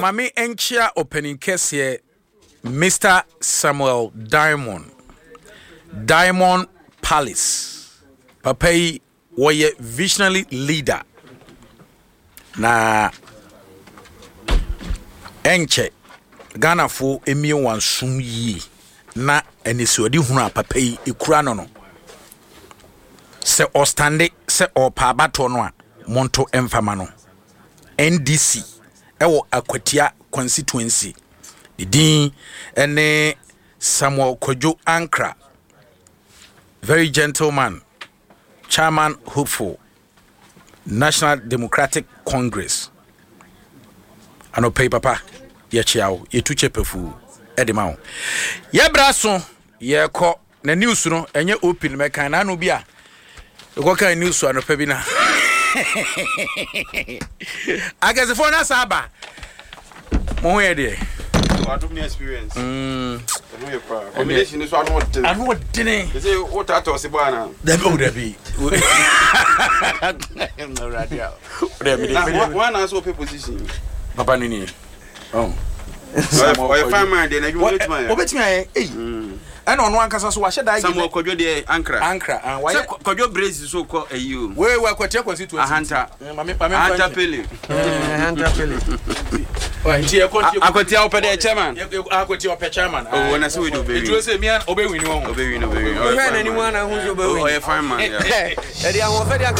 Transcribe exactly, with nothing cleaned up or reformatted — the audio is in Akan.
Maame nkyia ɔpanin kɛseɛ Mister Samuel Diamond, Diamond Palace. Papa yi wɔyɛ visionary leader na ɛnkyɛ Ghanafoɔ emie wɔn som yie na anisoade hunu a papa yi ekura no no sɛ ɔstande sɛ ɔɔpa abatoɔ no a, monto mfama no. N D C ɛwɔ Akwatia constituency, ne din ɛne Samuel Kwadwo Ankra, very gentleman, chairman hopeful, National Democratic Congress. Anɔpɛ yi, papa, yɛkyea wo, yɛtu kyɛ pɛfuu ɛde ma wo. Yɛbra so yɛkɔ na news no ɛnyɛ open mɛkan na ano bi a ɛkɔka news anɔpɛ bi na akɛsefoɔ no asa aba. Mo ho yɛ deɛ? Wadom ne experience. Ɛho yɛ paa. Combination ni so ano ɔden. Ano ɔdene. Sɛ wotaata ɔse bɔ ana? Dabi o, dabi. Na wana sɛ wopɛ position. Papa no nie. Oh. Ɔyɛ fine man deɛ, na adwuma wobɛtumi ayɛ. Wobɛtumi ayɛ ei. Ɛna ɔno ankasa so wahyɛ da. Samuel Kwadwo deɛ Ankra. Ankra ah, wayɛ. Sɛ Kwadwo Brace so kɔ ayi o. Wei wɔ Akwatia constituency. Ahanta. Mame mame. Ahanta Pele. Ahanta Pele. Nti yɛkɔ nti. Akwatia wopɛ deɛ chairman. Akwatia ɔpɛ chairman. Oh, na sɛ wei de obɛwin. Ɛtuo sɛ mia obɛwin wɔ ho. Obɛwin, obɛwin. Wohwɛ n'anim a na ho sɛ obɛwin. Ɔyɛ fine man, yeah. Ɛde ahoɔfɛ de